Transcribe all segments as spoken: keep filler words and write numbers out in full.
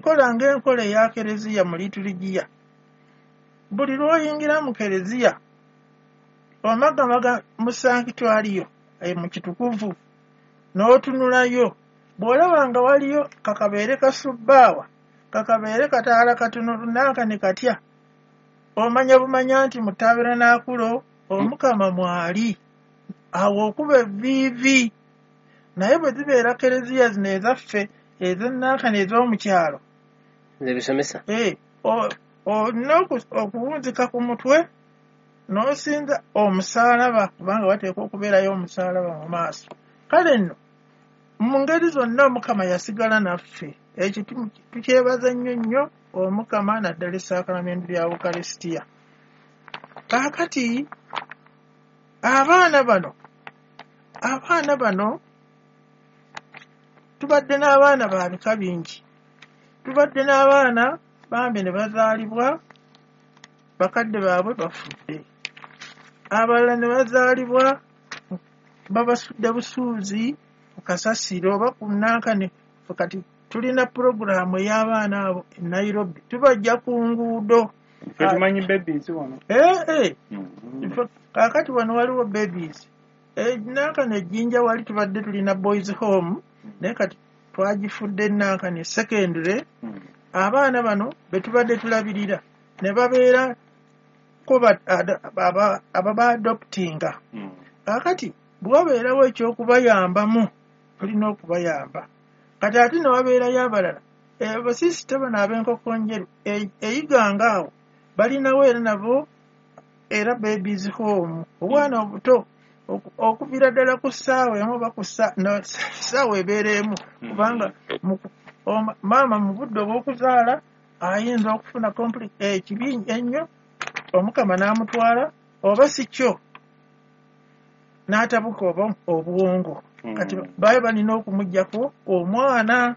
Enkola ng'enkola eya kereziya mu liituligiya, buli lw'oyingira mu kereziya omagamaga mu sankitwaliyo mu kitukuvu n'otunulayo, bw'olaba nga waliyo kakabeere kasubbaawa, kakabeere kataala katono nanka ne katya, omanya bumanya nti mu tabernakulo Omukama mwali, awo okuba evviivi. Naye bwe zibeera kereziya zino ezaffe ez'ennankani ez'omukyalo Zebisomesa. Eh, olina okuwunzika ku mutwe n'osinza omusaalaba, kubanga wateekwa okubeerayo omusaalaba mu maaso. Kale nno mu ngeri zonna Omukama yasigala naffe. Ekyo tukyebaza nnyo nnyo Omukama, naddala essaakalamentu lya Ukaristia. Kaakati abaana bano abaana bano tubadde n'abaana ba bika bingi. Tubadde n'abaana bambi ne bazaalibwa bakadde baabwe bafudde, abalala ne bazaalibwa babasudde busuuzi ku kasasiro oba ku nankani. Kati tulina pulogulaamu ey'abaana abo e Nairobi, tubajja ku nguudo. Ffe tumanyi babies wano. Eh, eh. Kaakati wano waliwo babies. Nankani ejjinja wali tubadde tulina boys home, naye kati twagifudde nankani secondary. Abaana bano be tubadde tulabirira ne babeera ko ababaadoptinga. Kaakati bwe wabeerawo ekyokubayambamu tulina okubayamba. Kati ate ne wabeerayo abalala, abasisita bano ab'enkoko njeru eyiganga awo balinawo era nabo era babies home, obwana obuto okuviira ddala ku ssaawa emu oba ku ssaawa ebeera emu, kubanga maama mu budde obw'okuzaala ayinza okufuna ekibi ennyo, Omukama n'amutwala, oba si kyo n'atabuka oba obwongo. Kati baayo balina okumuggyako omwana.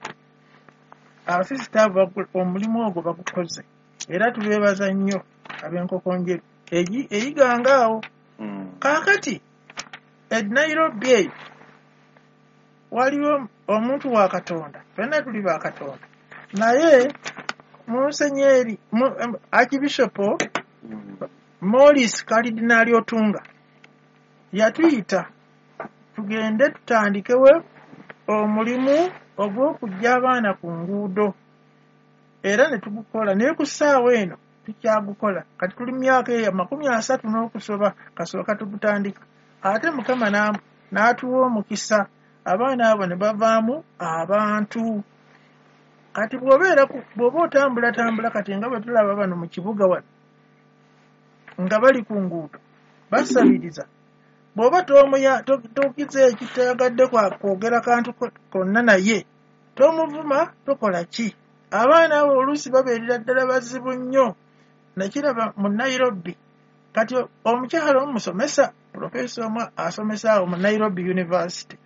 Abasisita abo omulimu ogwo bagukoze, era tubeebaza nnyo ab'enkoko njeru eyiganga awo. Kaakati e Nairobi eyo waliwo omuntu wa Katonda, ffenna tuli ba Katonda, naye Musenyeri Archbishop Maurice Kalidinaali Otunga yatuyita tugende tutandikewo omulimu ogw'okuggya abaana ku nguudo, era ne tugukola. Naye ku ssaawa eno tukyagukola. Kati tuli myaka eyo makumi asatu n'okusoba kasooka tugutandika. Ate Mukama n'atuwa omukisa, abaana abo ne bavaamu abantu. Kati bw'obeera bw'oba otambulatambula kati nga bwe tulaba bano mu kibuga wano nga bali ku nguudo basabiriza, bw'oba tokize ekitayagadde kwogera kantu konna naye tomuvuma, tokola ki. Abaana abo oluusi babeerera ddala bazibu nnyo. Nakiraba mu Nairobi. Kati omukyala omusomesa, profesa omu asomesa awo mu Nairobi University,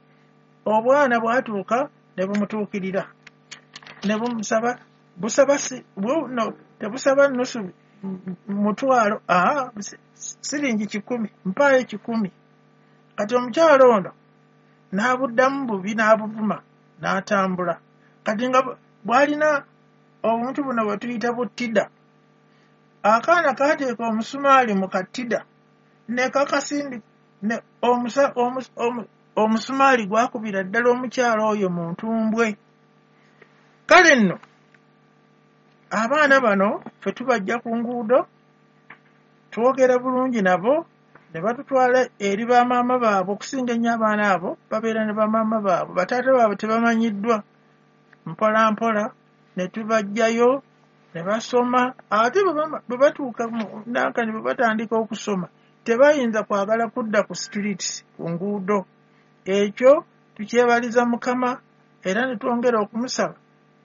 obwana bwatuuka ne bumutuukirira ne bumusaba busaba no, tebusaba nusu mutwalo, aa siringi kikumi, mpaayo kikumi. Kati omukyala ono n'abuddamu bubi n'abuvuma n'atambula. Kati nga bw'alina obuntu buno bwe tuyita butida, akaana kaateeka omusumaali mu katida ne kakasindi ne omusa omusumaali gwakubira ddala omukyala oyo mu ntumbwe. Kale nno abaana bano ffe tubajja ku nguudo, twogera bulungi nabo ne batutwala eri bamaama baabwe. Okusinga ennyo abaana abo babeera ne bamaama baabwe, bataata baabwe tebamanyiddwa. Mpola mpola ne tubajjayo ne basoma. Ate bwe batuuka nankani bwe batandika okusoma tebayinza kwagala kudda ku streets, ku nguudo. Ekyo tukyebaliza Mukama, era ne twongera okumusaba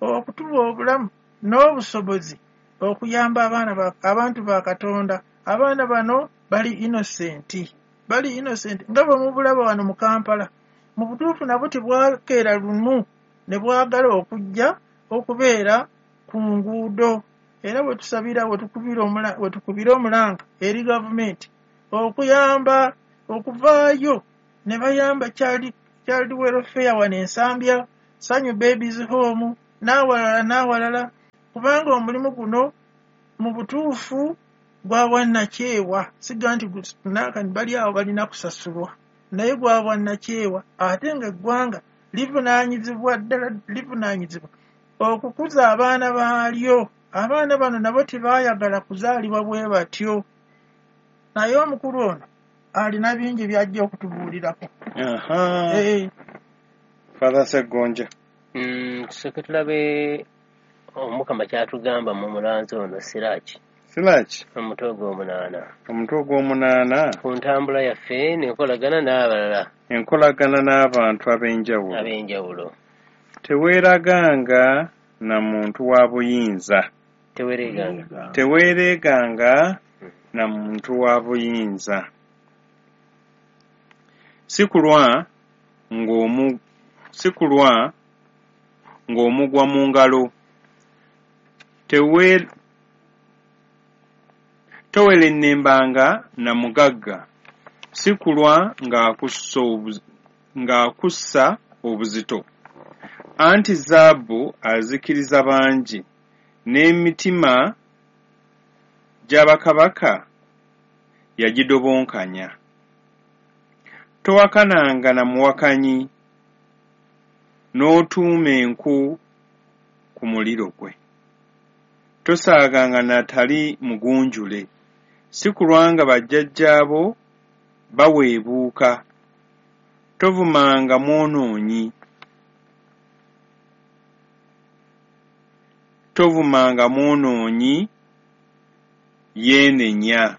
okutuwa obulamu n'obusobozi okuyamba abaana abantu ba Katonda. Abaana bano bali innocent, bali innocent nga bwe mubulaba wano mu Kampala. Mu butuufu nabo tebwakeera lumu ne bwagala okujja okubeera ku nguudo. Era bwe tusabira we tukubira omulanga eri gavumenti okuyamba okuvaayo ne bayamba child child welfare wano Ensambya, Sanyu Babies Home n'awalala n'awalala. Kubanga omulimu guno mu butuufu gwa bwannakyewa, siga nti nakani bali awo balina kusasulwa, naye gwa bwannakyewa, ate ng'eggwanga livunaanyizibwa ddala, livunaanyizibwa okukuza abaana baalyo. Abaana bano nabo tebaayagala kuzaalibwa bwe batyo. Naye omukulu ono alina bingi by'ajja okutubuulirako. Aha. Eh, Father Ssegonja. Mm, tusooke tulabe Omukama kyatugamba mu mulanzi ono Siraki. Siraki? Omutwe ogw'omunaana. Omutwe ogw'omunaana. Ku ntambula yaffe n'enkolagana n'abalala. Enkolagana n'abantu ab'enjawulo. Ab'enjawulo. Teweeraganga na muntu wa buyinza. Teweereganga. Teweereganga na muntu wa buyinza. Si kulwa ng'omu si kulwa ng'omugwa mu ngalo. Tewe towerennembanga na mugagga, si kulwa ng'akussa obuzito. Anti zaabu azikiriza bangi, n'emitima gy'abakabaka yagidobonkanya. Towakananga na muwakanyi, n'otuuma enku ku muliro gwe. Tosaaganga n'atali mugunjule, si kulwa nga bajjajjaabo baweebuuka. Tovumanga mwonoonyi, tovumanga mwonoonyi yeenenya.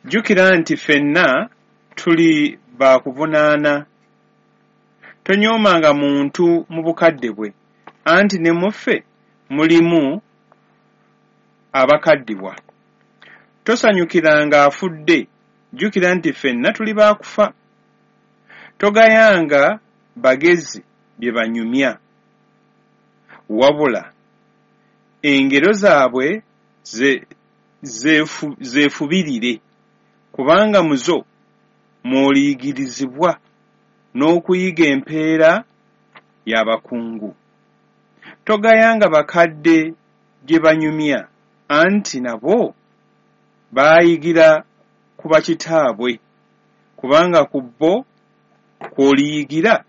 Jjukira nti ffenna tuli baakuvunaana. Tonyoomanga muntu mu bukadde bwe, anti ne mu ffe mulimu abakaddibwa. Tosanyukiranga afudde, jjukira nti ffenna tuli baakufa. Togayanga bagezi bye banyumya, wabula engero zaabwe zeefubirire, kubanga mu zo mw'oliyigirizibwa n'okuyiga empeera y'abakungu. Togayanga bakadde gye banyumya, anti nabo baayigira ku bakitaabwe, kubanga ku bo kw'oliyigira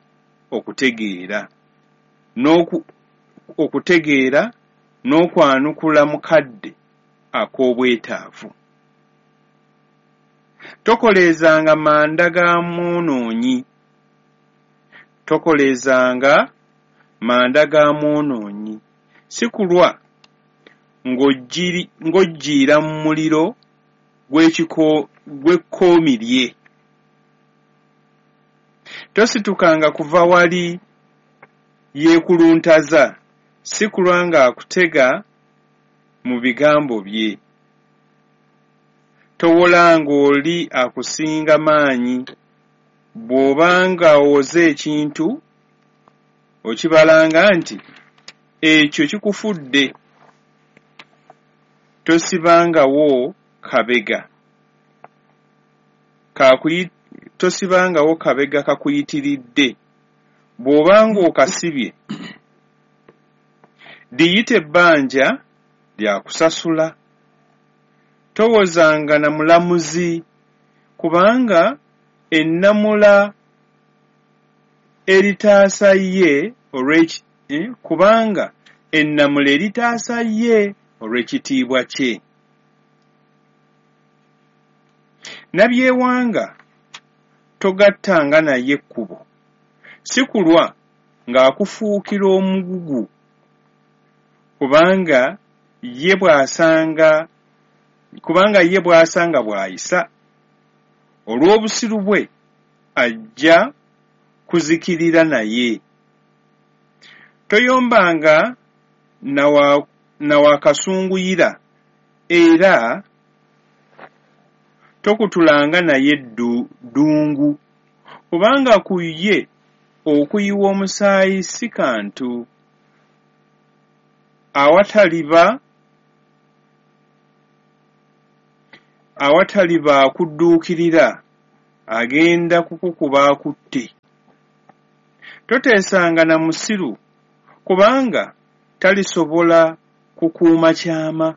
okutegeera okutegeera n'okwanukula mukadde ak'obwetaavu. Tokoleezanga manda ga mwonoonyi, tokoleezanga manda ga mwonoonyi, si kulwa ng'oggiira mu muliro gw'ekkomi lye. Tositukanga kuva wali yeekuluntaza, si kulwa ng'akutega mu bigambo bye. Towolanga oli akusinga maanyi, bw'obanga owoze ekintu okibalanga nti ekyo kikufudde. Tosibangawo kabega kakuyi tosibangawo kabega kakuyitiridde, bw'obanga okasibye liyite ebbanja lya kusasula. Towozanga na mulamuzi, kubanga ennamula eritaasa ye olw'eki eh, kubanga ennamula eritaasa ye olw'ekitiibwa kye. Nabyewanga togattanga naye ekkubo, si kulwa ng'akufuukira omugugu, kubanga ye bw'asanga kubanga ye bw'asanga bw'ayisa. Olw'obusiru bwe ajja kuzikirira naye. Toyombanga na wakasunguyira, era tokutulanga naye ddungu, kubanga ku ye okuyiwa omusaayi si kantu. Awataliba awataliba akudduukirira agenda kukukuba akutte. Toteesanga na musiru, kubanga talisobola kukuuma kyama.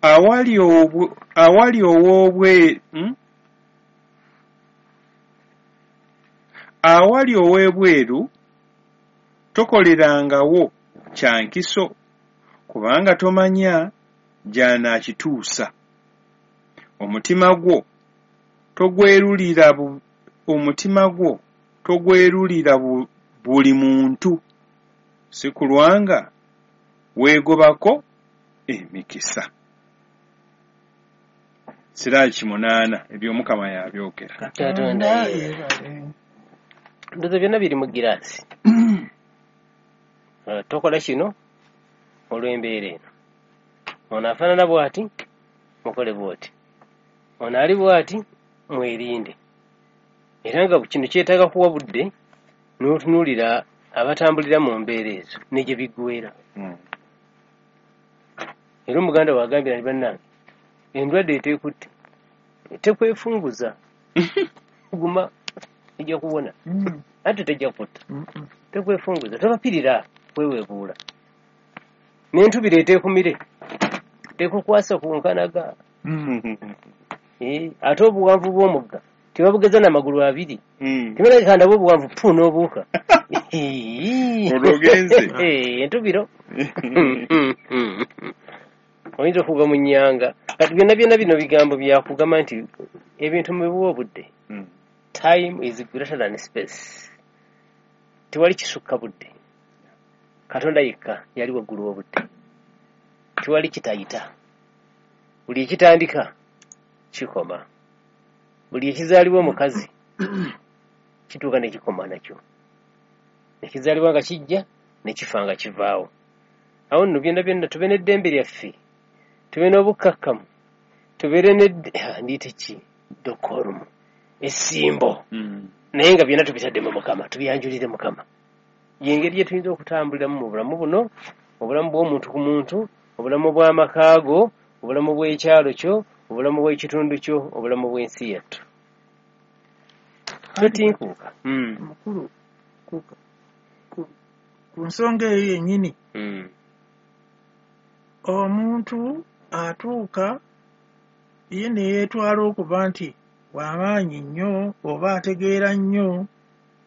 Awali obwe, awali ow'obwe, hmm? Awali ow'ebweru tokolerangawo kya nkiso, kubanga tomanya gy'anaakituusa. Omutima gwo togwerulira bu, omutima gwo togwerulira bu, buli muntu, si kulwanga weegobako emikisa. Siraki munaana, eby'Omukama yabyogera. Katonda yeebale. Ndowooza byonna biri mu giraasi. Uh, tokola kino olw'embeera eno. Ono afaanana bw'ati, mukole bw'oti. Ono ali bw'ati, mwerinde. Era nga kino kyetaaga kuwa budde n'otunuulira abatambulira mu mbeera ezo ne gye biggweera. Mm. Era omuganda wagambira nti bannange, endwadde eteekutte tekwefunguza, guma ejja kuwona, Mm. ate tejja kutta. Mm. Tekwefunguza, tobapirira kweweebuula. N'entubiro eteekumire tekukwasa ku nkanaga. Mm. Eh, ate obuwanvu bw'omugga tebabugeza n'amagulu abiri. Mm. Timereka ndaba obuwanvu pu n'obuuka. Olwo ogenze. Eh, entubiro. Oyinza okugwa mu nnyanga. Kati byonna byonna bino bigambo byakugamba nti ebintu mubiwe obudde. Mm. Time is greater than space. Tewali kisukka budde. Katonda yekka yali waggulu w'obudde. Tewali kitayita. Buli ekitandika kikoma. Buli ekizaalibwa omukazi kituuka ne kikoma nakyo. Ekizaalibwa nga kijja ne kifa nga kivaawo. Awo nno byonna byonna tube n'eddembe lyaffe, tube n'obukkakkamu, tubeere n'edde, ndiyite ki? Decorum, essimbo. Mm. Naye nga byonna tubitadde mu Mukama, tubyanjulire Mukama. Y'engeri gye tuyinza okutambuliramu mu bulamu buno, obulamu bw'omuntu ku muntu, obulamu bw'amaka go, obulamu bw'ekyalo kyo, obulamu bw'ekitundu kyo, obulamu bw'ensi yattu. Totinkuuka. Mm. Mukulu, ku, ku, ku nsonga eyo yennyini, Mm. omuntu atuuka ye ne yeetwala okuba nti w'amaanyi nnyo oba ategeera nnyo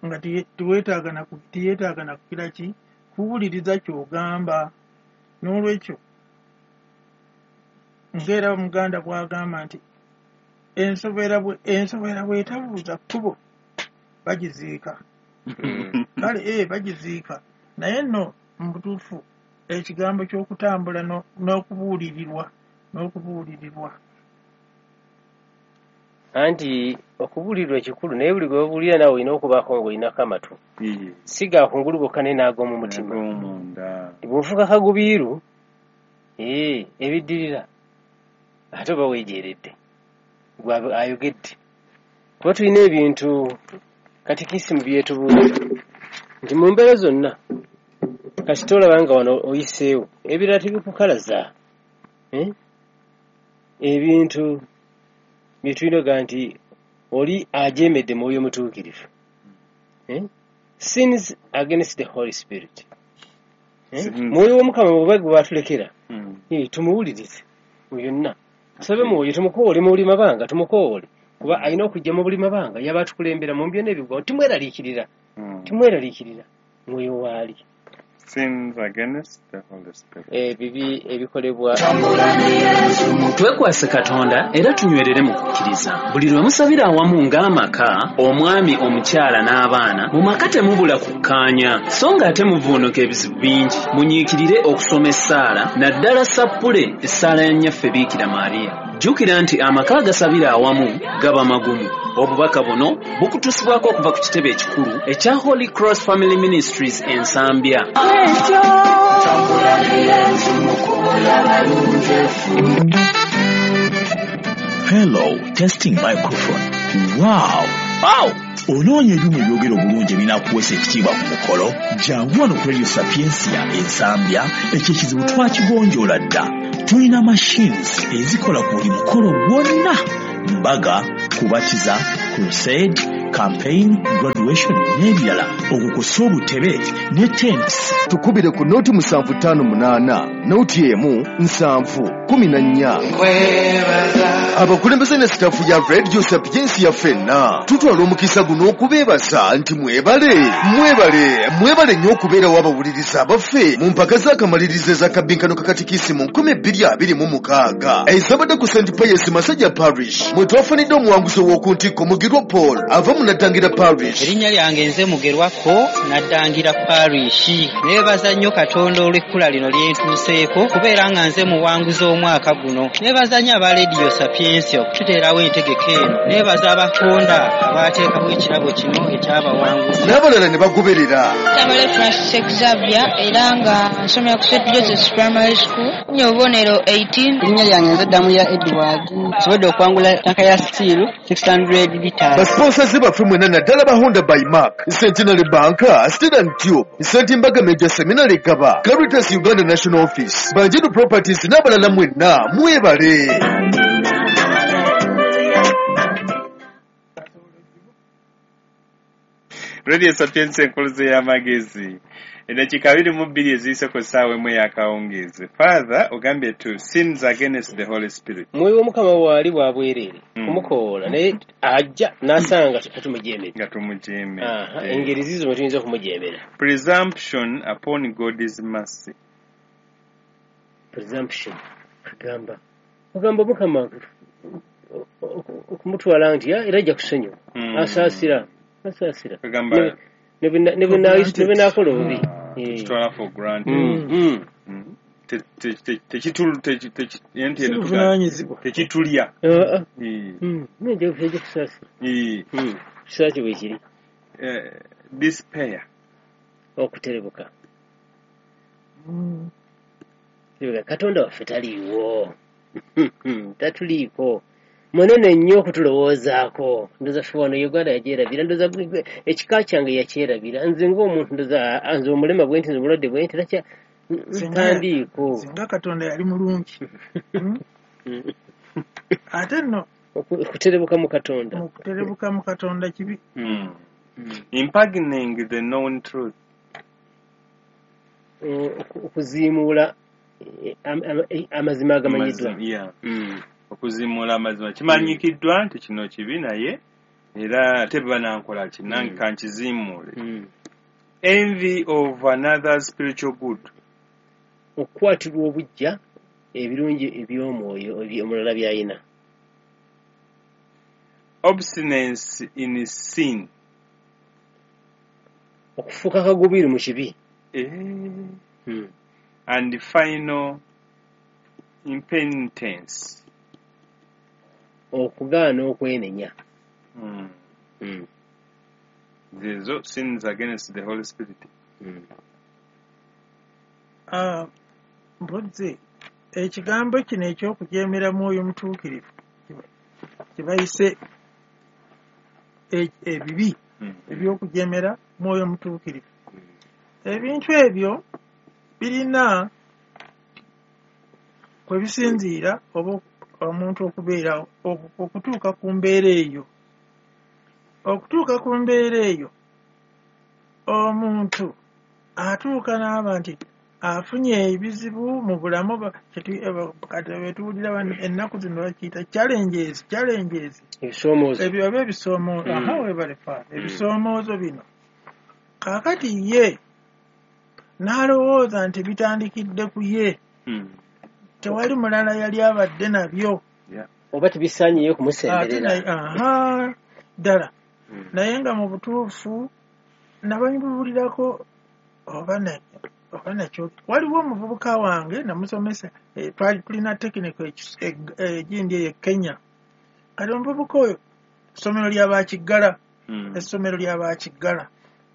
nga tiye- tiweetaaga na ku- tiyeetaaga na kugira ki kuwuliriza ky'ogamba. N'olwekyo ng'era Omuganda bw'agamba nti ensobera bwe ensobera bw'etabuuza kkubo bagiziika. Mm. Kale ee bagiziika, naye nno mu butuufu ekigambo ky'okutambula no- n'okubuulirirwa n'okubuulirirwa Anti okubuulirwa kikulu, naye buli gwe babuulira naawe olina okubaako ng'olinako amatu. Iye. Si ga kungulu gokka naye n'ag'omu mutima. Ag'omunda. Bw'ofuuka kagubiiru, ee, ebiddirira ate oba weejeeredde gwe ayogedde. Kuba tulina ebintu katikisimu byetubuulira nti mu mbeera zonna kasita olaba nga wano oyiseewo, ebirala tebikukalaza. Eh? Ebintu bye tulina oga nti oli ajeemedde Mwoyo Mutuukirivu. Eh? Sins against the Holy Spirit. Eh? Mm. Mwoyo w'Omukama bw'oba gwe baatulekera, Mm. eh, tumuwulirize mu byonna. Tusabe Mwoyo tumukoowole mu buli mabanga, tumukoowole. Kuba alina okujja mu buli mabanga, yaba atukulembera mu byonna ebigwawo. Timweraliikirira, Mm. timweraliikirira. Mwoyo waali. Sins against the Holy Spirit. Ebibi ebikolebwa. Twekwase Katonda era tunywerere mu kukkiriza. Buli lwe musabira awamu ng'amaka, omwami, omukyala n'abaana, mu maka temubula kukkaanya, so ng'ate muvuunuka ebizibu bingi. Munyiikirire okusoma essaala, naddala sappule essaala ya Nnyaffe Biikira Maria. Jjukira nti amaka agasabira awamu gaba magumu. Obubaka buno bukutuusibwako okuva ku kitebe ekikulu ekya Holy Cross Family Ministries e Nsambya. Hello, testing microphone. Wow! Wow! Onoonya ebyuma ebyogera obulungi ebinaakuweesa ekitiibwa ku mukolo? Jangu wano ku Radio Sapientia e Nsambya, ekyo ekizibu twakigonjoola dda. Tulina machines ezikola ku buli mukolo gwonna: mbaga, kubatiza, crusade, campaign, graduation n'ebirala, okwo kw'ossa obutebe ne tents. Tukubire ku noti musanvu ttaano munaana noti emu nsanvu kumi na nnya. Abakulembeze ne sitaafu ya Radio Sapientia ffenna tutwala omukisa guno okubeebaza nti mwebale, mwebale, mwebale nnyo okubeerawo abawuliriza abaffe mu mpaka z'akamalirizo ez'akabbinkano ka katikisimu nkumi bbiri abiri mu mukaaga ezabadde ku Saint Pius Masajja Parish, mwe twafunidde omuwanguzi ow'oku ntikko Mugerwa Paul ava mu Naddangira Parish. Erinnya lyange nze Mugerwako, Naddangira Parish. Neebaza nnyo Katonda olw'ekkula lino lye ntuuseeko kubeera nga nze muwanguzi omwaka guno. Neebaza nnyo aba Radio Sapientia okututeerawo entegeka eno. Neebaza abakonda abaateekawo ekirabo kino ekyabawanguzi. N'abalala ne bagoberera. Tamale Francis Xavier era nga nsomera ku Saint Joseph's Primary School. Nfunye obubonero eighteen. Erinnya lyange nze Ddamuya Edward. Nsobodde okwangula tanka ya steel six hundred liters. Basponsors baffe mwenna naddala ba Honda by Mark, Centenary Bank, Steel and Tube, Saint Mbaga Major Seminary Gaba, Caritas Uganda National Office, Banjiru Properties n'abalala mwenna mwebale. Radio Sapientia enkuluze y'amagezi. Eddakiika abiri mu bbiri eziyise ku ssaawa emu ey'akawungeezi. Father ogambye to sins against the Holy Spirit. Mwoyo w'Omukama waali wa bwereere Mm. kumukowoola, naye ajja n'asanga tetumujeemera. Nga tumujeemera. Aha, Eh. engeri ziizo mwe tuyinza okumujeemera. Presumption upon God's mercy. Presumption kagamba ogamba Omukama okumutwala nti era ajja kusonyiwa. Mm. Asaasira, asaasira. Kagamba Ne- ne bwe- ne bwe na- ne bwe naakola obubi. Eh. Tukitwala for granted. Mm, mm. Mm. Te- te- te- tekitu- teki- teki- enti eno tuga- Sibuvunaanyizibwa. tekitulya. Ah, ah. Eh. Mm, nejja ejja kusaasira. Eh. Mm, kisa kye bwe kiri. Eh, despair. Okuterebuka. Mm. Terebuka. Katonda waffe taliiwo. Tatuliiko. Munene nnyo okutulowoozaako. Ndowooza ffe wano Uganda yagyerabira. Ndowooza ekika kyange yakyerabira. Nze ng'omuntu ndowooza nze omulema bwe nti, nze omulwadde bwe nti, nakya Singa- ntandiiko. Singa Katonda yali mulungi. Mm. Ate nno Oku- okuterebuka mu Katonda. mu kuterebuka mu Katonda kibi. Mm. Impugning the known truth. Oku- okuziimuula eh, am- am- eh, amazima agamanyiddwa. Amazima, yeah. Mm. Okuzimuula amazima kimanyikiddwa nti kino kibi, naye era ate bwe banankola ki nange Mm. kankizimuule. Mm. Envy of another spiritual good. Okukwatirwa obuggya ebirungi eby'omwoyo ebi- omulala by'alina. Obstinance in sin. Okufuuka kagubiru mu kibi. Eh. Mm. And final impenitence. Okugaana okwenenya. Mm. Mm. Zezo sins against the Holy Spirit. Mm. Ah, mpozzi ekigambo kino ekyokujeemera mwoyo mutuukirivu kye bayise e- ebibi Mm. ebyokujeemera mwoyo mutuukirivu. Ebintu ebyo birina kwe bisinziira oba omuntu okubeera oku- okutuuka ku mbeera eyo. Okutuuka ku mbeera eyo omuntu atuuka n'aba nti afunye ebizibu mu bulamu ba- kyetu- eh, kati bwe tuwulira bano ennaku zino bakiyita challenges, challenges. Ebisoomoozo. Ebyo oba ebisoomoozo. Mm. Aha, weebale Father. Ebisoomoozo bino. Kaakati ye n'alowooza nti bitandikidde ku ye. Mm. Tewali mulala yali abadde nabyo. Yeah. Oba tebisaanyeyo Ate kumusemberera. naye aha ddala. Mm. Naye nga mu butuufu nababuulirako oba na oba nakyo waliwo omuvubuka wange namusomesa, eh, twali tulina tekiniko egindi eyo e Kenya. Kati omuvubuka oyo essomero lya Bakiggala, Mm. essomero lya Bakiggala.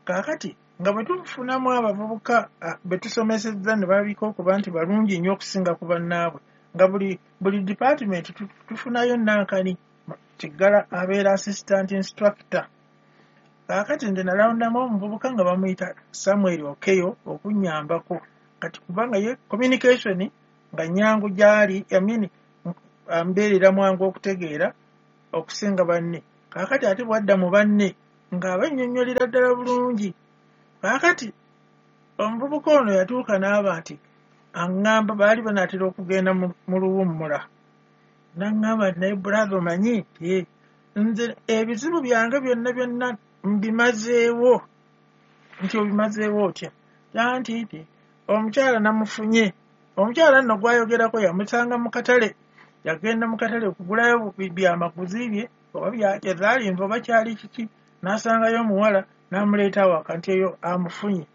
Kaakati nga bwe tufunamu abavubuka ah, be tusomesezza ne balabika okuba nti balungi nnyo okusinga ku bannaabwe, nga buli buli department tu- tufunayo nankani Kiggala abeera assistant instructor. Kaakati nze nalondamu omuvubuka nga bamuyita Samuel Okeyo okunnyambako. Kati kubanga ye communication nga nnyangu gy'ali, I mean, ambeerera mwangu okutegeera okusinga banne. Kaakati ate bw'adda mu banne Ng'abannyonnyolera ddala bulungi. Kaakati omuvubuka ono yatuuka n'aba nti aŋŋamba baali banaatera okugenda mu luwummula. N'aŋŋamba nti naye brother omanyi nti nze ebizibu byange byonna byonna mbimazeewo. Nti obimazeewo otya? Anti nti omukyala namufunye. Omukyala nno gw'ayogerako yamusanga mu katale. Yagenda mu katale okugulayo byamaguzi bye oba byazaali nva oba kyali kiki, n'asangayo omuwala n'amuleeta awaka nti eyo amufunye.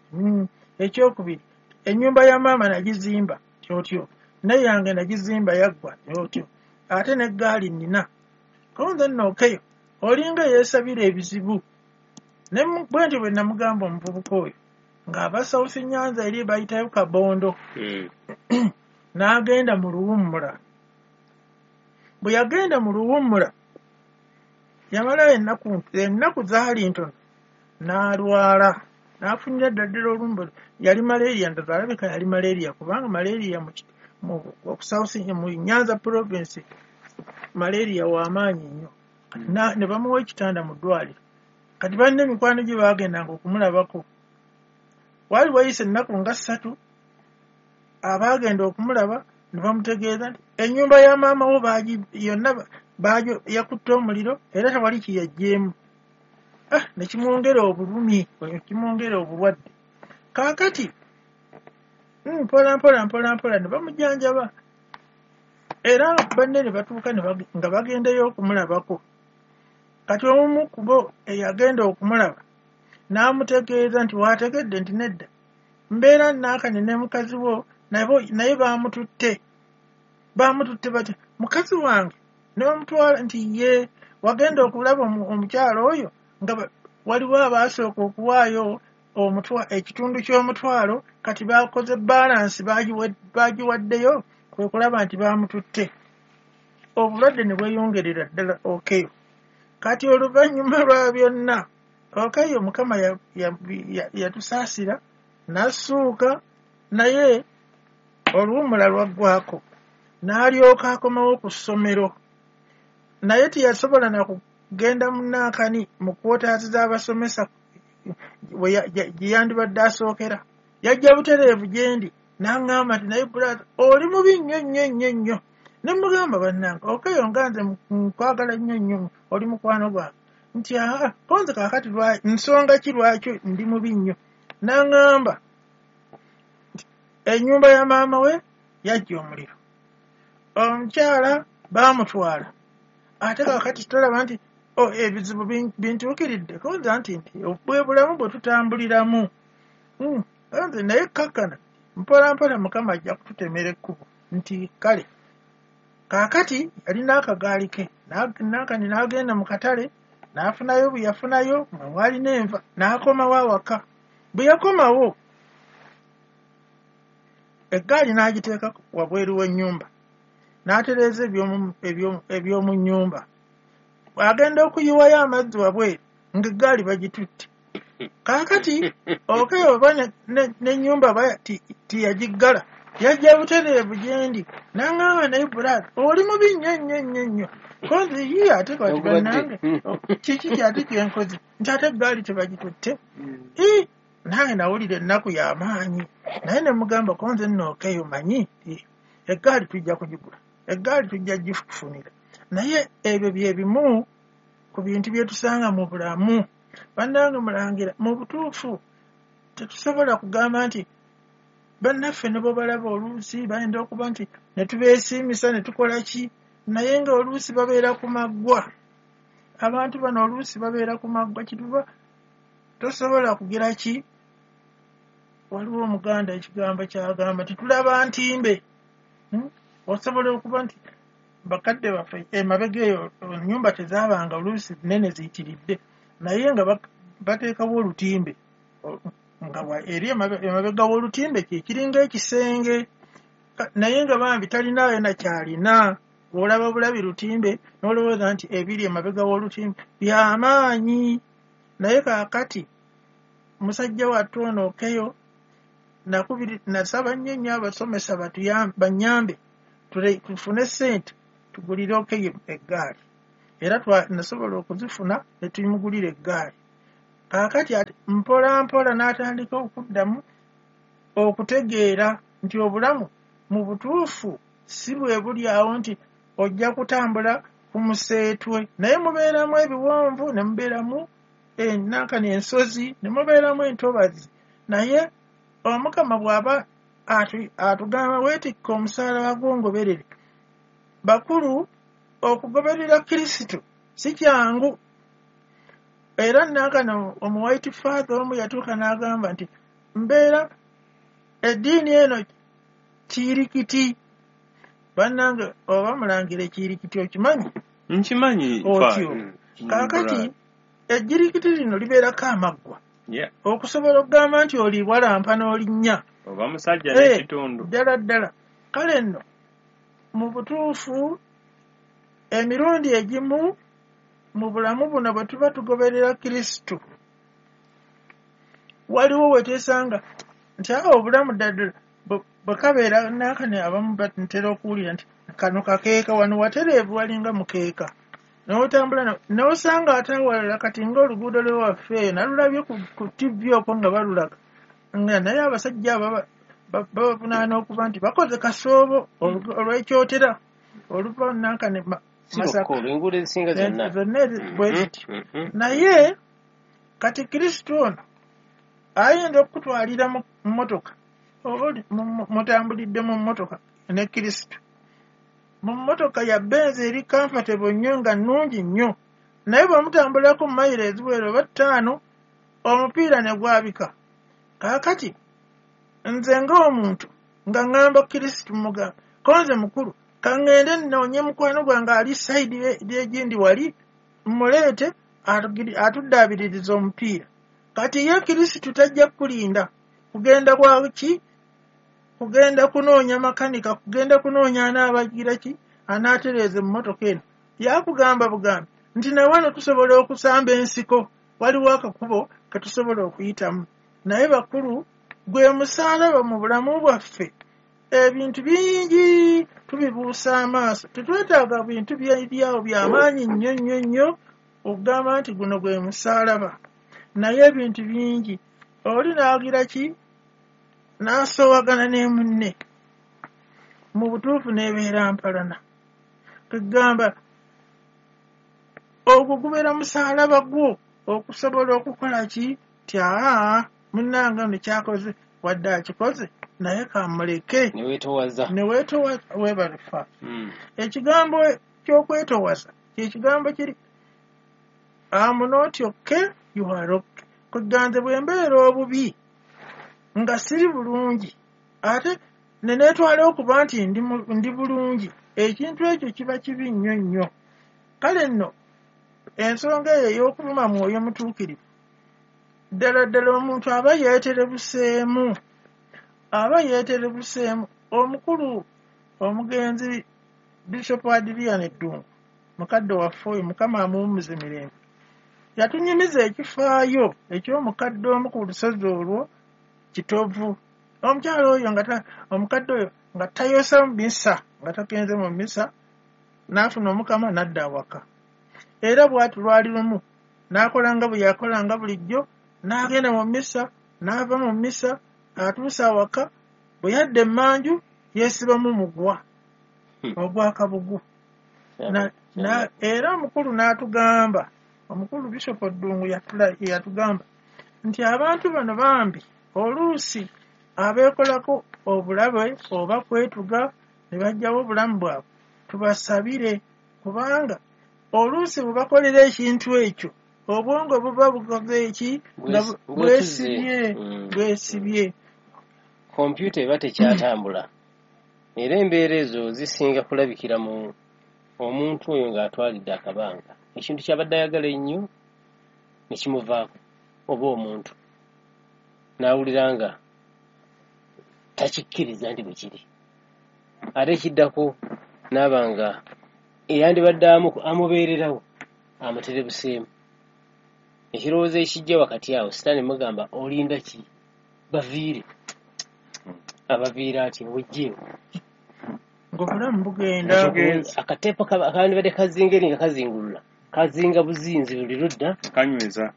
Ekyokubiri, ennyumba ya maama nagizimba tyotyo, neyange nagizimba yaggwa tyotyo, ate n'eggaali nnina. Konze nno Okeyo olinga yeesabira ebizibu. Ne bwe ntyo bwe namugamba omuvubuka oyo ng'aba South Nyanza eri bayitayo Kabondo, n'agenda mu luwummula. Bwe yagenda mu luwummula yamalayo ennaku ennaku zaali ntono n'alwala, n'afunira ddala ddala olumbe. Yali malaria, ndowooza alabika yali malaria, kubanga malaria mu South mu Nyanza province malaria w'amaanyi nnyo. Ne bamuwa ekitanda mu ddwaliro. Kati banne emikwano gye baagendanga okumulabako. Waali wayise ennaku nga ssatu, abaagenda okumulaba ne bamutegeeza nti ennyumba ya maama wo yonna yakutte omuliro era tewali kiyaggyeemu. Ah, ne kimwongera obulumi, ne kimwongera obulwadde. Kaakati mpola mpola mpola mpola ne bamujjanjaba. Era banne ne batuuka nga bagendayo okumulabako. Kati omu ku bo eyagenda okumulaba n'amutegeeza nti waategedde nti nedda, mbeera naakane ne mukazi wo naye baamututte. Baamututte batya? Mukazi wange ne bamutwala nti ye wagenda okulaba omukyala oyo nga waliwo abaasooka okuwaayo ekitundu ky'omutwalo, kati baakoze balansi baagiwaddeyo kwe kulaba nti baamututte. Obulwadde ne bweyongerera ddala Okeyo. Kati oluvannyuma lwa byonna Okeyo Mukama yatusaasira n'assuuka, naye oluwummula lwaggwako n'alyoka akomawo ku ssomero. Naye teyasobola na kugenda mu naakani mu kwotaasi z'abasomesa gye yandibadde asookera. Yajja butereevu gye ndi n'aŋŋamba nti naye brother oli mubi nnyo nnyo nnyo nnyo. Ne mugamba bannange Okeyo nga nze nkwagala nnyo nnyo, oli mukwano gwange. Nti aa konze kaakati nsonga ki lwaki ndi mubi nnyo? N'aŋŋamba nti ennyumba ya maama we yajja omuliro, omukyala baamutwala, ate kaakati tolaba nti ebizibu bintuukiridde. Konze nti nti bwe bulamu bwe tutambuliramu. Nze naye kakkana mpola mpola Mukama ajja kututemera ekkubo nti kale. Kaakati yalina akagaali ke naakani n'agenda mu katale n'afunayo bwe yafunayo nga mwalina enva n'akomawo awaka. Bwe yakomawo eggaali n'agiteeka wabweru w'ennyumba n'atereeza eby'omu nnyumba. Agenda okuyiwayo amazzi wabweru ng'eggaali bagitutte. Kaakati Okeyo oba n'ennyumba tiyagiggala, yajja butereevu gye ndi n'aŋŋamba naye brother oli mubi nnyo nnyo nnyo nnyo. Konze ye ate kati bannange kiki kyate kyenkoze nti ate eggaali tebagitutte. Ii nange nawulira ennaku y'amaanyi, naye ne mugamba konze nno Okeyo manyi eggaali tujja kugigula, eggaali tujja gikufunira. Naye ebyo bye bimu ku bintu bye tusanga mu bulamu. Bannange mulangira mu butuufu tetusobola kugamba nti bannaffe ne bwe balaba oluusi bayinza okuba nti ne tubeesiimisa ne tukola ki, naye nga oluusi babeera ku maggwa. Abantu bano oluusi babeera ku maggwa, kituba tosobola kugira ki. Waliwo Omuganda ekigambo ky'agamba titulaba ntimbe. Osobola okuba nti bakadde baffe emabega eyo ennyumba tezaabanga oluusi nnene ziyitiridde, naye nga bateekawo olutimbe nga eri emabega w'olutimbe kye kiringa ekisenge, naye nga bambi talinaayo nakyalina. Olaba bulabi lutimbe n'olowooza nti ebiri emabega w'olutimbe byamaanyi. Naye kaakati musajja wattu ono Okeyo nasaba nnyo nnyo abasomesa bannyambe tufune ssente tugulire Okeyo eggaali, era nasobola okuzifuna ne tumugulira eggaali. Kaakati mpola mpola n'atandika okuddamu okutegeera nti obulamu mu butuufu si bwe buli awo nti ojja kutambula ku museetwe, naye mubeeramu ebiwonvu ne mubeeramu ennankani ensozi ne mubeeramu entobazi. Naye Omukama bw'aba atugamba weetikka omusaalaba gw'ongoberere. Bakulu, okugoberera Kristo si kyangu. Era nankano omu white father omu yatuuka n'agamba nti mbeera eddiini eno kiirikiti. Bannange, oba mulangira ekiyirikiti okimanyi? Nkimanyi. Otyo. Kaakati ejjirikiti lino libeerako amaggwa okusobola okugamba nti oli walampa n'olinnya oba musajja n'ekitundu. Ddala ddala. Kale nno mu butuufu emirundi egimu mu bulamu buno bwe tuba tugoberera Kristo, waliwo we twesanga nti awo obulamu ddala bwe kabeera naakane. Abamu ntera okuwulira nti kano kakeeka, wano watereevu walinga mukeeka n'otambula n'osanga ate awalala. Kati ng'oluguudo lwewaffe eyo nalulabye ku T V okwo nga balulaga nga naye abasajja abo babavunaana okuba nti bakoze kasoobo olw'ekyotera oluva nankane Masaka enguudo ezisinga zonna zonna bwe zityo. Naye kati Kristo ono ayinza okukutwalira mu mmotoka, oba mutambulidde mu mmotoka ne Kristo, mu mmotoka ya Benz eri comfortable nnyo nga nnungi nnyo, naye bwe mutambulako mayiro eziwera oba ttaano omupiira ne gwabika. Kaakati nze ng'omuntu nga ŋŋamba Kristo, mugamba konze mukulu, kaŋŋende nnoonye mukwano gwange ali side egindi wali muleete atuddaabiririza omupiira. Kati ye Kristo tajja kukulinda kugenda kwaki, kugenda kunoonya makanika, kugenda kunoonya anaabagira ki anaatereeza emmotoka eno. Yakugamba bugambi nti nawano tusobola okusamba ensiko, waliwo akakubo ketusobola okuyitamu. Naye bakulu, gwe musaalaba mu bulamu bwaffe. Ebintu bingi tubibuusa amaaso, tetwetaaga bintu byeryawo byamaanyi nnyo nnyo nnyo okugamba nti guno gwe musaalaba. Naye ebintu bingi oli n'agira ki n'asoowagana ne munne, mu butuufu n'ebeera mpalana. Kegamba ogwo gubeera musaalaba gwo okusobola okukola ki ti aa munnange ono kyakoze wadde akikoze naye kamuleke. Neweetowaza. Neweetowaza, weebalufa. Ekigambo ky'okwetowaza kyekigambo kiri am not okay, you are okay. Kuganze bwe mbeera obubi nga siri bulungi ate ne neetwala okuba nti ndi, ndi bulungi, ekintu ekyo kiba kibi nnyo nnyo. Kale nno ensonga eyo ey'okuvuma mwoyo mutuukirivu, ddala ddala omuntu aba yeeterebuseemu, aba yeeterebuseemu. Omukulu omugenzi Bishop Adrian Eddungu, mukadde waffe oyo, Mukama amuwummuze mirembe, yatunyumiza ekifaayo eky'omukadde omu ku lusozi olwo Kitovu. Omukyala oyo nga omukadde oyo nga tayosa mu misa, nga tagenze mu misa, n'afuna Omukama n'adda awaka. Era bw'ati lwali lumu n'akola nga bwe yakolanga bulijjo, n'agenda mu misa, n'ava mu misa, atuuse awaka, bwe yadda emmanju yeesibamu mugwa ogwakabugu. Era omukulu n'atugamba, omukulu Bishop Ddungu yatugamba nti abantu bano bambi oluusi abeekolako obulabe oba kwetuga ne bajjawo obulamu bwabwe, tubasabire, kubanga oluusi bwe bakolera ekintu ekyo obwongo buba bukoze eki nga bwesibye bwesibye Kompyuta eba tekyatambula. Era embeera ezo zisinga kulabikira mu omuntu oyo ng'atwalidde akabanga ekintu kyabadde ayagala ennyo ne kimuvaako, oba omuntu n'awulira nga takikkiriza nti bwe kiri, ate ekiddako n'aba nga eyandibadde amubeererawo amuterebuseemu. Ekirowoozo ekijja wakati awo, Sitaani mugamba, olinda ki, baviire. Abaviira ati wejjeewo. Ng'obulamu bugenda. Akateepo akandibadde kazinga eri nga kazingulula, kazinga buzinzi buli ludda. Kanyweza.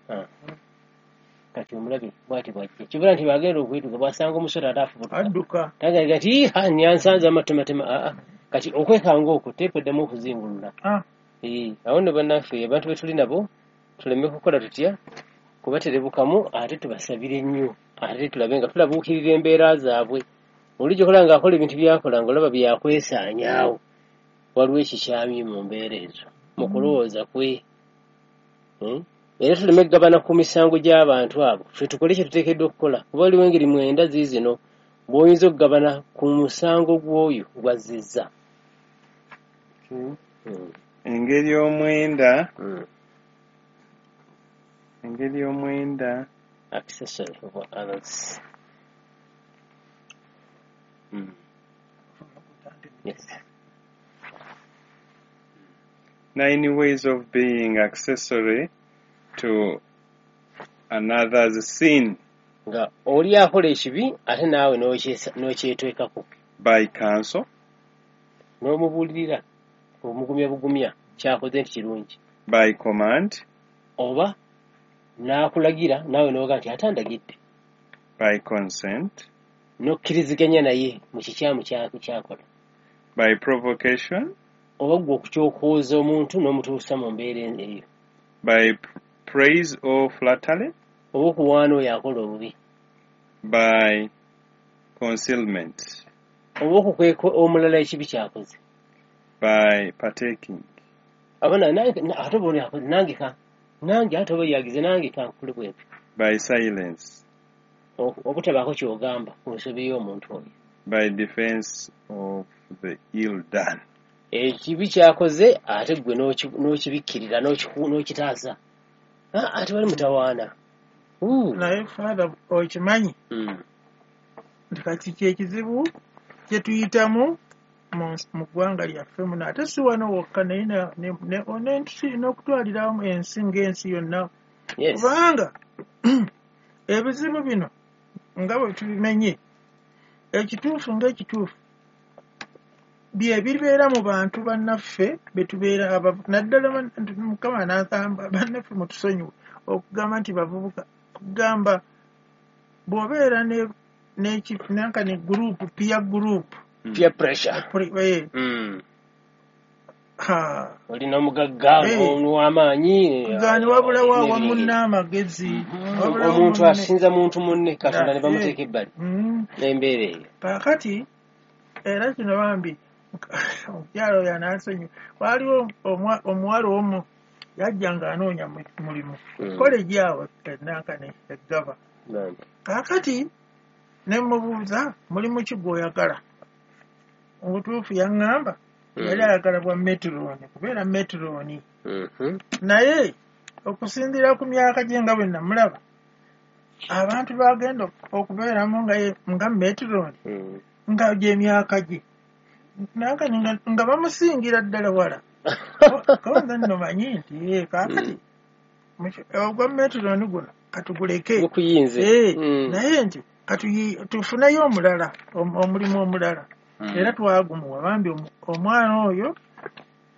Kati omulabe bw'ati bw'ajja. Kibula nti bw'agenda okwetuga bw'asanga omusota ate afubutuka. Adduka. Tagaga nti ha nyansanze amatematema aa. Kati okwekanga okwo teepu eddamu okuzingulula. Ah. Eh, awo nno bannaffe abantu be tuli nabo tuleme kukola tutya kubaterebukamu ate tubasabire nnyo ate tulabe nga tulabuukirira embeera zaabwe. Olijja okulaba ng'akola ebintu by'akola ng'olaba byakwesaanyaawo. Waliwo ekikyamye mu mbeera ezo mu kulowooza kwe. Hmm? Era tuleme kugabana ku misango gy'abantu abo. Ffe tukole kye tuteekeddwa okukola. Kuba waliwo engeri mwenda ziizino bw'oyinza okugabana ku musango gw'oyo gw'azzizza. Hmm. Engeri omwenda Hmm. engeri omwenda Accessory of others. Hmm. Yes. Nine ways of being accessory to another's sin. Nga oli akola ekibi ate naawe n'okyesa- n'okyetwekako. By counsel. N'omubuulirira omugumya bugumya ky'akoze nti kirungi. By command. Oba n'akulagira naawe n'oga nti ate andagidde. By consent. N'okkiriziganya naye mu kikyamu kya- ky'akola. By provocation. Oba ggwe okukyokooza omuntu n'omutuusa mu mbeera eyo. By praise or flattery. Oba okuwaana oyo akola obubi. By concealment. Oba okukweka omulala ekibi ky'akoze. By partaking. Aba na- nange na- ate oba oli akoze nange ka nange ate oba yagize nange kankule bwentyo. By silence. Oku- obutabaako ky'ogamba ku nsobi y'omuntu oyo. By defense of the ill done. Ekibi ky'akoze ate ggwe n'oki- n'okibikkirira n'okiku- n'okitaasa. Ah, ate wali mutawaana. Ooh. Naye Father okimanyi Mm. nti kati kyekizibu kye tuyitamu mu nsi- mu ggwanga lyaffe muno ate si wano wokka naye na- ne- ne- n'ensi n'okutwalira awamu ensi ng'ensi yonna. Yes. Kubanga ebizibu bino nga bwe tubimenye ekituufu ng'ekituufu bye bibeera mu bantu bannaffe be tubeera abavu naddala ban- Mukama n'agamba bannaffe mutusonyiwe okugamba nti bavubuka kugamba bw'obeera ne n'eki- nanka ne group peer group Peer pressure. Pre- eh, Mm. ha Olina omugagga Eh. n'ow'amaanyi. Gaani wabulawo awamu n'ebirala. n'amagezi wabulawo Omuntu munne. asinza muntu munne Katonda ne Eh. bamuteeka ebbali Mm. n'embeera eyo. Kaakati era kino bambi omukyala oyo anansonyiwa waaliwo omwa- omuwala omu yajja ng'anoonya mu- mulimu Mm. koleji awo enankane eggava. Bambi. Kaakati ne mubuuza mulimu ki gw'oyagala obutuufu yaŋŋamba Mm. yali ayagala bwa metrooni kubeera metrooni Mhm. naye okusinziira ku myaka gye nga bwe namulaba abantu bagenda okubeeramu nga ye- nga metrooni Mm. nga gy'emyaka gye nankani nga, nga bamusingira ddala wala. Konze nno manyi nti eh, kaakati muki- ogwa metrooni guno katuguleke. Gukuyinze. Eh, Mm. naye nti katuyi- tufuneyo omulala om- omulimu omulala Mm. era twagumuwa bambi omu- omwana oyo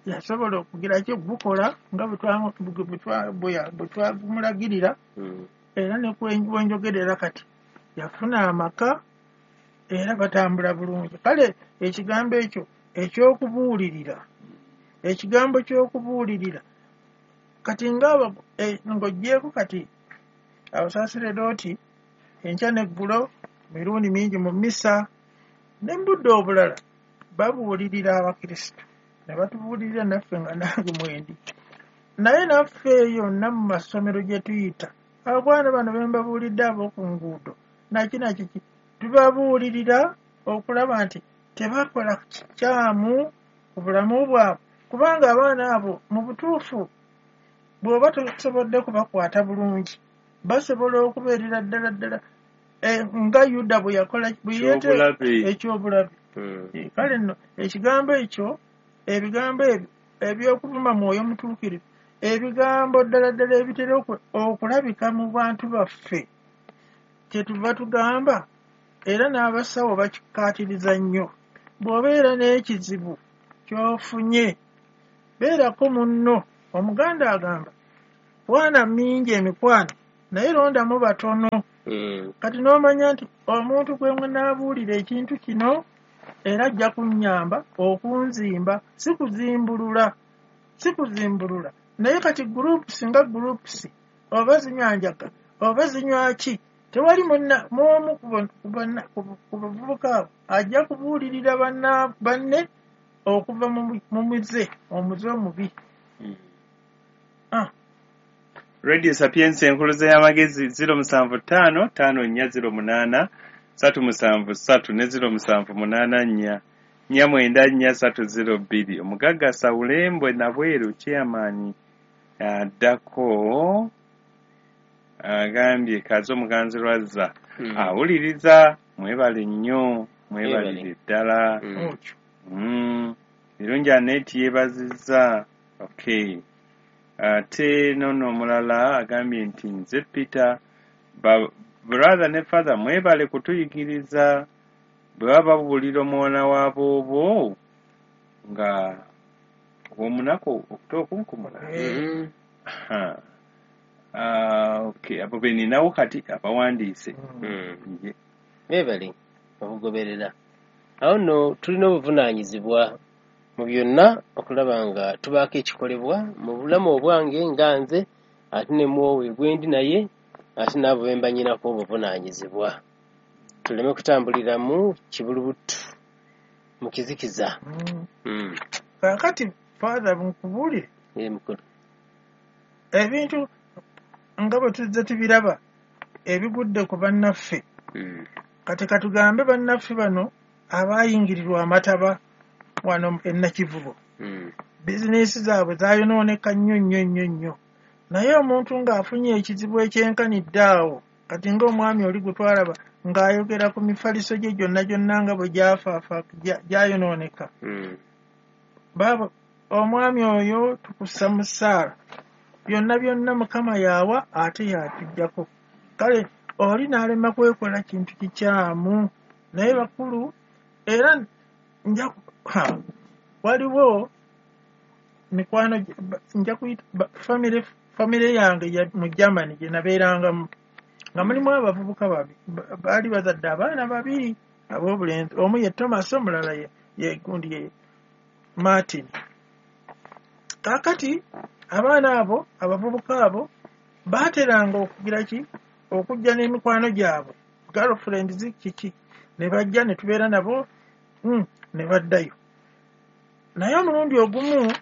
yasobola okugira ki gukola nga bwe twa- bwe twa- bwe ya- bwe twagumulagirira Mm. era ne kwe- bwenjogerera kati yafuna amaka era batambula bulungi. Kale ekigambo ekyo ekyokubuulirira ekigambo ky'okubuulirira kati nga ng'oggyeeko kati abasaseredooti enkya n'eggulo mirundi mingi mu mmisa ne mu budde obulala babuulirira abakristo ne batubuulirira naffe nga nange mwendi naye naffe yonna mu masomero gye tuyita abaana bano be mbabuulidde ab'oku nguudo naki nakiki tubabuulirira okulaba nti tebakola kikyamu ku bulamu bwabwe kubanga abaana abo mu butuufu bw'oba tosobodde kubakwata bulungi basobola okubeerera ddala ddala eh, nga Yuda bwe yakola bwe yeete- Ekyobulabe. ekyobulabe. Mm. Eh, kale nno ekigambo ekyo ebigambo ebyo eby'okuvuma mwoyo mutuukirivu ebigambo ddala ddala ebitera oku- okulabika mu bantu baffe kyetuva tugamba era n'abasawo bakikkaatiriza nnyo bw'obeera n'ekizibu ky'ofunye beerako munno. Omuganda agamba kwana mingi emikwano Naye londamu batono. Mm. Kati n'omanya nti omuntu gwe munaabuulira ekintu kino era ajja kunnyamba okunzimba, si kuzimbulula, si kuzimbulula. Naye kati groups nga groups oba zinywa njaga oba zinywa ki, tewali munna mu ku banna ku bavubuka abo ajja kubuulirira banna banne okuva mu muze omuze omubi. Mm. Ah. Radio Sapientia enkuluze y'amagezi ziro musanvu ttaano ttaano nnya ziro munaana ssatu musanvu ssatu ne ziro musanvu munaana nnya nnya mwenda nnya ssatu ziro bbiri. Omugagga Sawulembwe Nabweru chairman addako agambye Kazo Muganzi Lwazza Mm. awuliriza, mwebale nnyo, mwebalire ddala. Mm. Mm. Birungi Annette yeebazizza. Okay. Ate nono omulala agambye nti nze Peter, ba brother ne father mwebale kutuyigiriza. Bwe baba babuulira omwana wa boobo nga omunaku okutokunkumula. Mm. Ha. Ah, okay, abo be ninawo kati abawandiise. Mm. Ye. Beebale okugoberera. Awo nno tulina obuvunaanyizibwa mu byonna okulaba nga tubaako ekikolebwa mu bulamu obwange nga nze, ate ne mwowe gwe ndi naye, ate n'abo be mba nnyinako obuvunaanyizibwa. Tuleme kutambuliramu kibulubutu mu kizikiza. Mm. Mm. Kaakati Father nkubuulire Ee mukulu. ebintu nga bwe tuzze tubiraba ebigudde ku bannaffe. Mm. Kati katugambe bannaffe bano abaayingirirwa amataba wano e Nakivubo. Mm. Bizinensi zaabwe zaayonooneka nnyo nnyo nnyo nnyo. Naye omuntu ng'afunye ekizibu ekyenkanidde awo, kati ng'omwami oli gwe twalaba ng'ayogera ku mifaliso gye gyonna gyonna nga bwe gyafaafa gyayonooneka. Mm. Baaba omwami oyo tukussa mu ssaala. Byonna byonna Mukama y'awa ate y'atuggyako. Kale oli n'alema kwekola kintu kikyamu. Naye bakulu era nja ha, waliwo mikwano nja kuyita family family yange ya mu Germany gye nabeerangamu nga mulimu abavubuka babi baali bazadde abaana babiri ab'obulenzi, omu ye Thomas omulala ye ye gundi ye Martin. Kaakati abaana abo abavubuka abo baateranga okugira ki okujja n'emikwano gyabwe girlfriends kiki ne bajja ne tubeera nabo mm, ne baddayo. Naye omulundi ogumu